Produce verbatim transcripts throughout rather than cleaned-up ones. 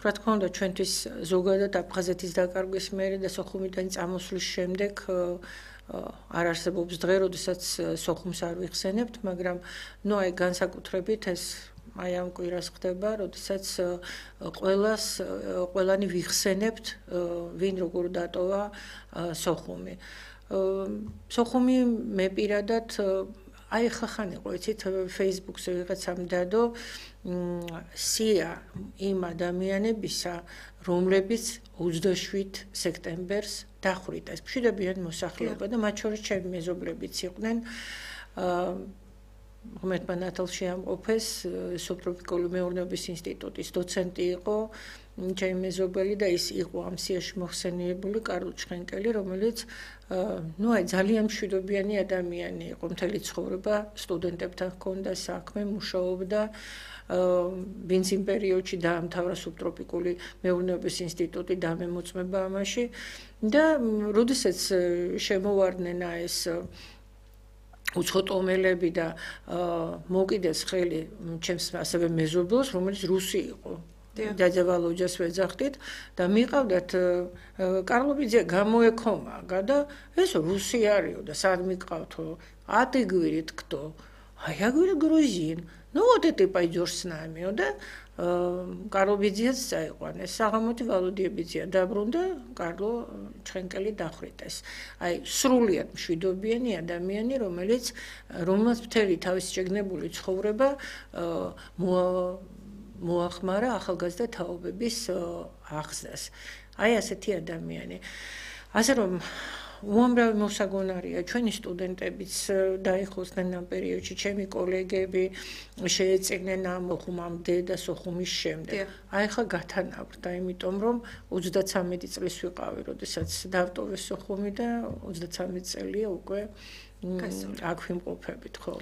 რა თქმა უნდა, ჩვენთვის ზოგადად აფხაზეთის დაკარგვის მერე და სოხუმიდან წამოსვლის შემდეგ არ არსებობს დღე, როდესაც სოხუმს არ ვიხსენებთ, მაგრამ ნუ აი განსაკუთრებით ეს აი ამ კვირას ხდება, როდესაც ყველას ყველანი ვიხსენებთ, ვინ როგორ დატოვა სოხუმი. სოხუმი მე პირადად აი ხა ხან იყო, იცით, Facebook-ზე ვიღაცამ დადო სია იმ ადამიანებისა, რომლებიც ოცდაშვიდ სექტემბერს დახვრიტეს. მშვიდობიან მოსახლეობა და მათ შორის ჩემი მეზობლებიც იყვნენ. ღმერთმა ნათელში ამყოფეს, სუბტროპიკული მეურნეობის ინსტიტუტის დოცენტი იყო ჩემი მეზობელი და ის იყო ამ სიაში მოხსენიებული კარლ ჩხენკელი, რომელიც ნუ აი ძალიან მშვიდობიანი ადამიანი იყო, მთელი ცხოვრება სტუდენტებთან ჰქონდა საქმე, მუშაობდა ბენზინ პერიოდში დაამთავრა სუბტროპიკული მეურნეობის ინსტიტუტი და მემოწმება ამაში და როდესაც შემოვარდნენ ეს უცხოტომელები და მოკიდეს ხელი ჩემს ასევე მეზობელს, რომელიც რუსი იყო. დядя Володя-ს ვეძახდით და მიყავდათ კარლობიძე გამოექომაგა და ეს რუსი არისო და სად მიყავთო? А ты, говорит, кто? А я говорю, грузин. Ну вот и ты пойдешь с нами, да? კარლობიძეც წაიყვანეს, საღამოთი ვალოდიებიძეა დაბრუნდა, კარლო ჩხენკელი დახვრიტეს. აი, სრულიად მშვიდობიანი ადამიანი, რომელიც რომელსაც მთელი თავის შეგნებული ცხოვრება მოახმარა ახალგაზრდა თაობების აღზრდას. აი ასეთი ადამიანი. ასე რომ უამრავი მოსაგონარია ჩვენი სტუდენტებიც დაიხოსდნენ ამ პერიოდში, ჩემი კოლეგები შეეწინნენ ამ სოხუმამდე და სოხუმის შემდეგ. აი ხა გათანაბრდა, იმიტომ რომ ოცდაცამეტი წლის ვიყავი, როდესაც დავტოვე სოხუმი და ოცდაცამეტი წელია უკვე აქ ვიმყოფებით, ხო.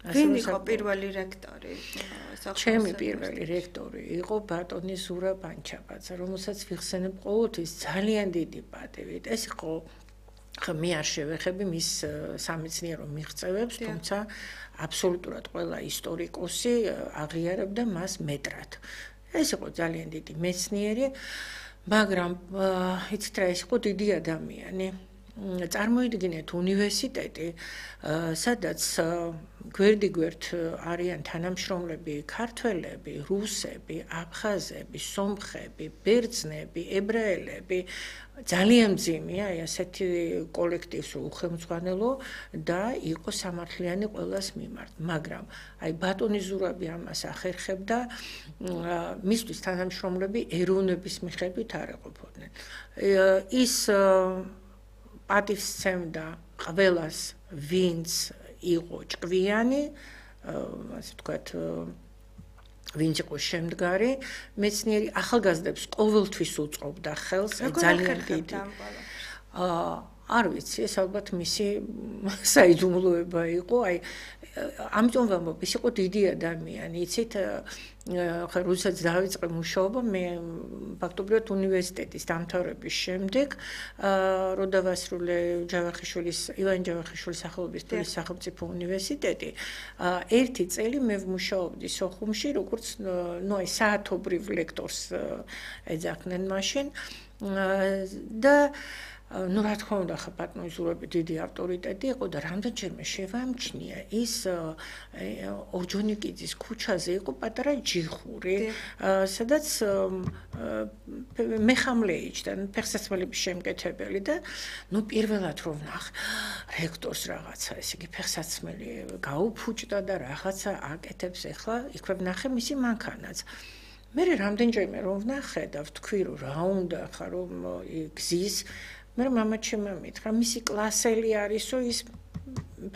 ვინ იყო პირველი რექტორი? ჩემი პირველი რექტორი იყო ბატონი ზურა ბანჩაბაძე, რომელსაც ვიხსენებ ყოველთვის ძალიან დიდი პატივით. ეს იყო მე არ შევეხები მის სამეცნიერო მიღწევებს, თუმცა აბსოლუტურად ყველა ისტორიკოსი აღიარებდა მას მეტრად. ეს იყო ძალიან დიდი მეცნიერი, მაგრამ იცით რა, ეს იყო დიდი ადამიანი. წარმოიდგინეთ უნივერსიტეტი, სადაც გვერდიგვერდ არიან თანამშრომლები ქართველები, რუსები, აფხაზები, სომხები, ბერძნები, ებრაელები, ძალიან მძიმეა ასეთი კოლექტივს უხელმძღვანელო და იყო სამართლიანი ყველას მიმართ, მაგრამ აი ბატონი ზურაბი ამას ახერხებდა, მისთვის თანამშრომლები ეროვნების მიხედვით არ ეყოფოდნენ. ის პატივს სცემდა ყველას, ვინც იყო ჭკვიანი, ასე ვთქვათ, ვინც იყო შემდგარი, მეცნიერი ახალგაზრდებს ყოველთვის უწყობდა ხელს, ძალიან დიდი. არ ვიცი, ეს ალბათ მისი საიდუმლოება იყო, აი ამიტომ ვამბობ, ის იყო დიდი ადამიანი, იცით, ხა როდესაც დავიწყე მუშაობა, მე ფაქტობრივად უნივერსიტეტის დამთავრების შემდეგ, რო დავასრულე ჯავახიშვილის, ივან ჯავახიშვილის სახელობის თბილისის სახელმწიფო უნივერსიტეტი, ერთი წელი მე ვმუშაობდი სოხუმში, როგორც ნუ აი საათობრივ ლექტორს ეძახდნენ მაშინ და ну, რა თქმა უნდა, ხა ბატონი ზურაბი დიდი ავტორიტეტი იყო და რამდენჯერმე შევამჩნია, ის ორჯონიკიძის ქუჩაზე იყო პატარა ჯიხური, სადაც მეხამლეიჭდა, ფეხსაცმელების შემკეთებელი და ну, პირველად რომ ვნახე რექტორს რაღაცა, ესე იგი ფეხსაცმელი გაუფუჭდა და რაღაცა აკეთებს, ეხლა იქვე ვნახე მისი მანქანაც. მე რამდენჯერმე რომ ვნახე და ვთქვი, რომ რა უნდა ხა რომ გზის მე მამა ჩემმა მითხრა, მისი კლასელი არისო ის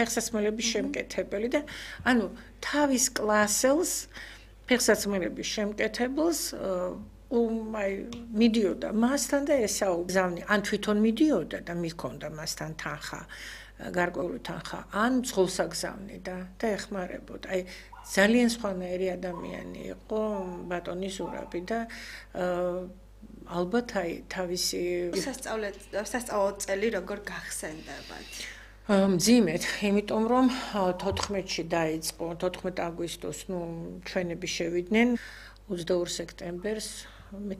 ფეხსაცმელების შემკეთებელი და ანუ თავის კლასელს ფეხსაცმელების შემკეთებელს აი მიდიოდა მასთან და ესაუბზავნი, ან თვითონ მიდიოდა და მიქონდა მასთან თანხა, გარკვეული თანხა, ან ძღოლს აგზავნიდა და ეხმარებოდა. აი ძალიან სხვანაირი ადამიანი იყო ბატონი ზურაბი და ალბათ აი თავისი სასწავლო წელი როგორ გახსენდებათ? მძიმედ, იმიტომ რომ თოთხმეტში დაიწყო, თოთხმეტ აგვისტოს, ნუ ჩვენები შევიდნენ ოცდაორ სექტემბერს მე